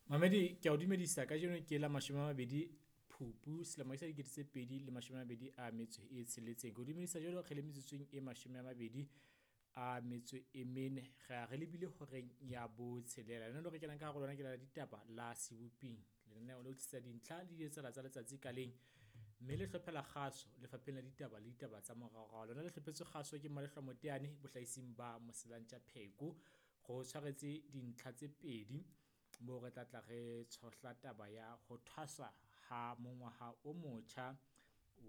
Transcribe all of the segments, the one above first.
Mamedi ke a o dumedisa kajeno ke la 20 Phupu selemo sa 2026. Ke o dumedisa jwalo re le metsotsong e 24, ra re lebile horeng ya botshelela. Lenaneo re kenang ka hare ho lona ke la ditaba la seboping, lenaneo le o tlisetsa dintlha le di etsahala tsa letsatsi ka leng mme le hlophela kgaso lefapheng la ditaba le ditaba tsa moraorao. Lona le hlophetswe kgaso ke Malehloa Moteane bohlaising ba Moselantja Pheko. Ro tshwaretse dintlha tse pedi moo re tla tla re tshohla taba ya ho thwasa ha mongwaha o motjha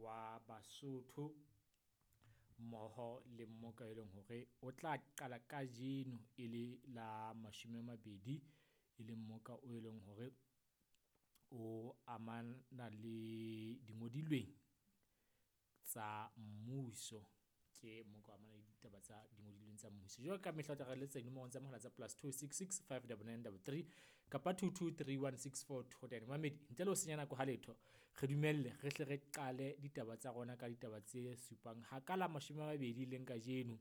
wa Basotho mmoho le mmoka e leng hore o tla qala kajeno e le la 20, e leng mmoka o e leng hore o amana le dingodilweng tsa mmuso. Ke mmoka o amana le ditaba tsa dingodilweng tsa mmuso. Jwalo ka mehla o tla re letsetsa dinomorong tsa mohala tsa +266 599 33 kapa 22 31 64 29. Momamedi ntle le ho senya nako ha letho, re dumelle re hle re qale ditaba tsa rona ka ditaba tse supang ha ka la 20 leng kajeno,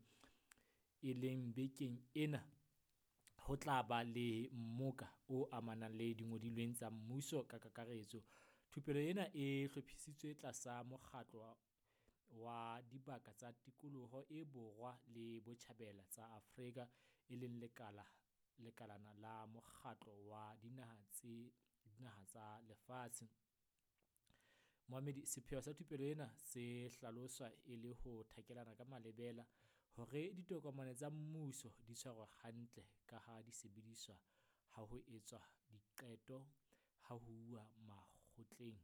e leng bekeng ena ho tla ba le mmoka o amanang le dingodilweng tsa mmuso ka kakaretso. Thupelo ena e hlophisitswe tlasa mokgatlo wa dibaka tsa tikoloho e Borwa le Botjhabela tsa Afrika, e leng lekala lekalana la mokgatlo wa dinaha tse dinaha tsa lefatshe. Momamedi sepheo sa thupelo ena se hlaloswa e le ho thakelana ka malebela hore ditokomane tsa mmuso di tshwarwe hantle ka ha di sebediswa ha ho etswa diqeto ha ho uwa makgotleng.